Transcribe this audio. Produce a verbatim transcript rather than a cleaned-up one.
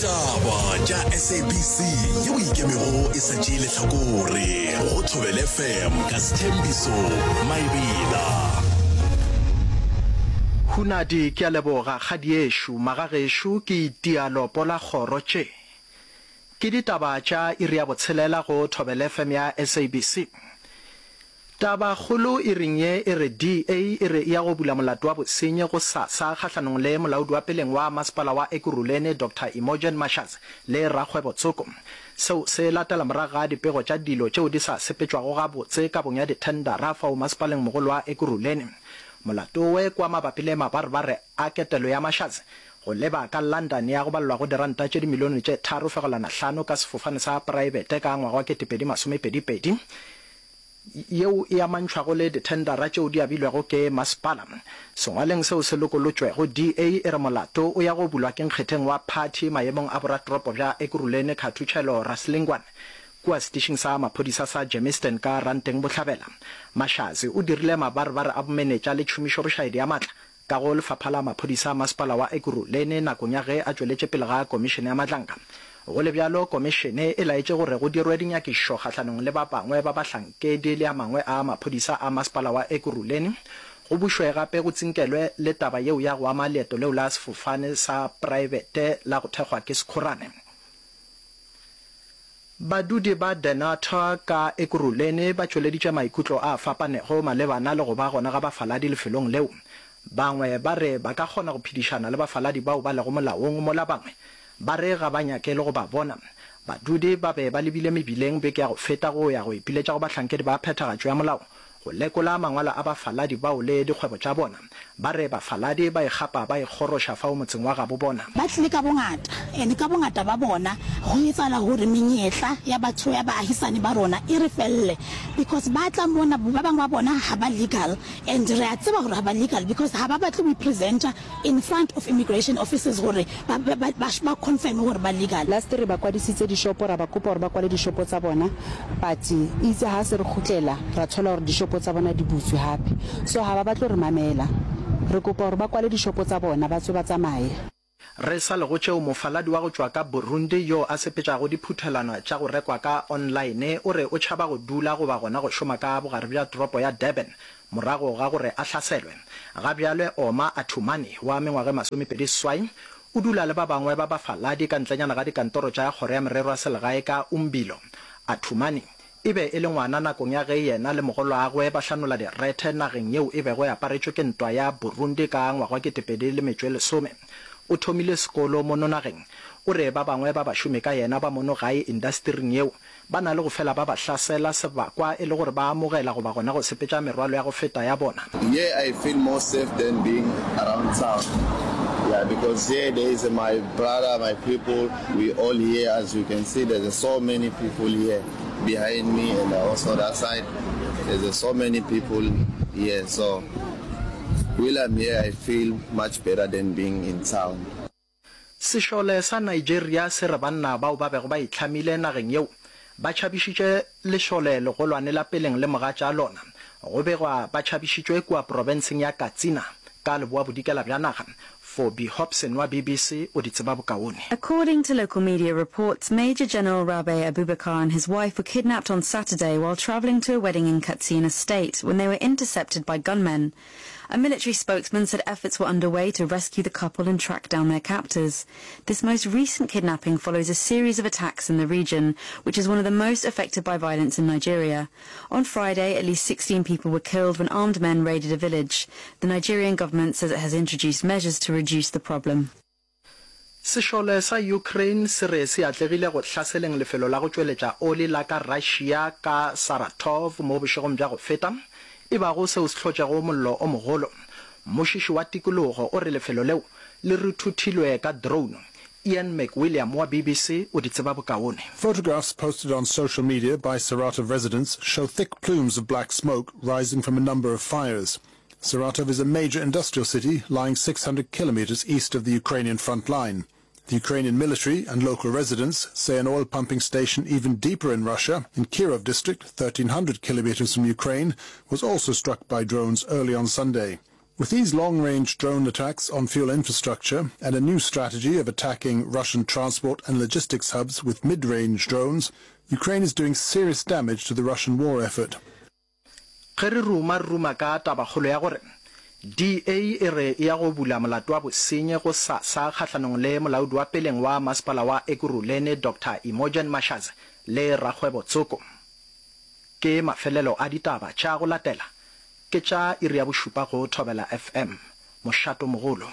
Ditaba tša S A B C yeo ikemego e sa tšee lehlakore go Thobela F M ka Sthembiso Maebela. Hunadi, ke a leboga kgadiešo, magagešo ke itia lopo la kgoro tše. Ke ditaba tša iri ya botshelela go Thobela F M ya S A B C. Tabakgolo iring ye e re D A e re e ya go bula molato wa bosenyi gosasa kgahlanong le molaodi wa peleng wa masepala wa Ekurhuleni Doctor Imogen Mashazi le rakgwebo tsoko. Seo se latela morago ga dipego tša dilo tšeo di sa sepetšwago gabotse kabong ya dithendara fao masepaleng mogolo wa Ekurhuleni. Molato we kwa mabapi le mabarebare a ketelo ya Mashazi go leba ka London ya go balelwa go diranta tše dimilione tše tharo fegelwana hlano ka sefofane sa praebete ka ngwaga wa ketepedi masomepedi pedi, yeo e amantšhwago le dithendara tšeo di abilwego ke masepala. Sengwaleng seo se lokolotšwego, D A e re molato o ya go bulwa ke nkgetheng wa phathi maemong a boratoropo bja Ekurhuleni Khathutšhelo Rasilingwane kua setišing sa maphodisa sa Germiston ka Ranteng Bohlabela. Mashazi o dirile mabarebare a bomenetša le tšhomišobošaedi ya matla ka go lefapha la maphodisa a masepala wa Ekurhuleni nakong ya ge a tšweletše pele ga komišene ya Madlanga. Go le bjalo, komišene e laetše gore go dirwe dinyakišišo kgahlanong le ba bangwe ba bahlankedi le a mangwe a maphodisa a masepala wa Ekurhuleni, go bušwe gape go tsinkelwe le taba yeo ya go ama leeto leo la sefofane sa praebete la go thekgwa ke Sekhorane. Badudi ba Dennilton ka Ekurhuleni ba tšweleditše maikutlo a fapanego malebana le go ba gona ga bafaladi lefelong leo. Bangwe ba re ba ka kgona go phedišana le bafaladi bao ba lego molaong, mola bangwe ba re ga ba nyake le go ba bona. Badudi ba be ba lebile mebileng beke ya go feta go ya go ipiletša go bahlankedi ba phethagatšo ya molao go lekola mangwalo a bafaladi bao le dikgwebo tša bona. Ba re bafaladi ba ikgapa ba ikgoroša fao motseng wa gabo bona. Ba tlile ka bongata, and ka bongata ba bona go etsala gore menyetla ya batho ya baahisane ba rona e re felle, because ba tla mona, ba bangwe ba bona ga ba legal, and re a tseba gore ga ba legal because ga ba batle go ipresenta in front of immigration officers gore ba, ba, ba, ba confirm gore ba legal. Last re ba kwadisitse dishopo, ra ba kopa gore ba kwale dishopo tsa bona, but itse ha se re kgutlela ra thola gore dishopo tsa bona di butswe hape, so ha ba batle re mamela. Re kopa gore ba kwale dishopo tsa bona, ba tswe ba tsamaye. Re sa le go tšeo, mofaladi wa go tšwa ka Burundi yo a sepetšago diphuthelwana tša go rekwa ka online o re o tšhaba go dula goba gona go šoma ka bogare bja toropo ya Durban morago ga gore a hlaselwe. Ga bjale Oma Athumani wa mengwaga e masomepedi seswai o dula le ba bangwe ba bafaladi ka ntlenyana ga dikantoro tša kgoro ya merero ya selegae ka Umbilo. Athumani e be e le ngwana nakong ya ge yena le mogolwagwe ba hlanola direthe nageng yeo e bego e aparetšwe ke ntwa ya Burundi ka ngwaga wa ketepedi le metšo e lesome. O thomile sekolo mono nageng. O re ba bangwe ba bašomi ka yena ba mono gae indastering yeo ba na le go fela ba ba hlasela sebakwa e le gore ba amogela goba gona go sepetša merwalo ya go feta ya bona. Here I feel more safe than being around town. Yeah, because here there is my brother, my people, we all here. As you can see, there's so many people here behind me and also that side. There's so many people here. So while I'm here, I feel much better than being in town. Sešole sa Nigeria se re banna bao ba bego ba itlhamile nageng yeo ba tšhabišitše lešole legolwane la peleng le mogatša lona. Go begwa ba tšhabišitšwe kua profenseng ya Katsina ka leboa bodikela bja naga. Phoebe Hobson wa B B C o di tseba bokaone. According to local media reports, Major General Rabe Abubakar and his wife were kidnapped on Saturday while traveling to a wedding in Katsina State when they were intercepted by gunmen. A military spokesman said efforts were underway to rescue the couple and track down their captors. This most recent kidnapping follows a series of attacks in the region, which is one of the most affected by violence in Nigeria. On Friday, at least sixteen people were killed when armed men raided a village. The Nigerian government says it has introduced measures to reduce the problem. Sešole sa Ukraine se re se atlegile go hlaseleng lefelo la go tšweletša oli la ka Russia ka Saratov mo bošegong bja go feta, e bago seo se hlotšego mollo o mogolo. Mmušiši wa tikologo o re lefelo leo le ruthuthilwe ka drone. Ian McWilliam wa B B C o di tseba bokaone. Photographs posted on social media by Saratov residents show thick plumes of black smoke rising from a number of fires. Saratov is a major industrial city lying six hundred kilometers east of the Ukrainian front line. The Ukrainian military and local residents say an oil pumping station even deeper in Russia, in Kirov district, thirteen hundred kilometers from Ukraine, was also struck by drones early on Sunday. With these long-range drone attacks on fuel infrastructure and a new strategy of attacking Russian transport and logistics hubs with mid-range drones, Ukraine is doing serious damage to the Russian war effort. Ge re ruma re ruma ka tabakgolo ya gore DA e re e ya go bula molato wa bosenyi go SASSA kgahlanong le molaodi wa peleng wa masepala wa Ekurhuleni Doctor Imogen Mashazi le rakgwebo tsoko. Ke mafelelo a ditaba tša go latela ke tša iri ya bošupa go Thobela FM, mošato mogolo.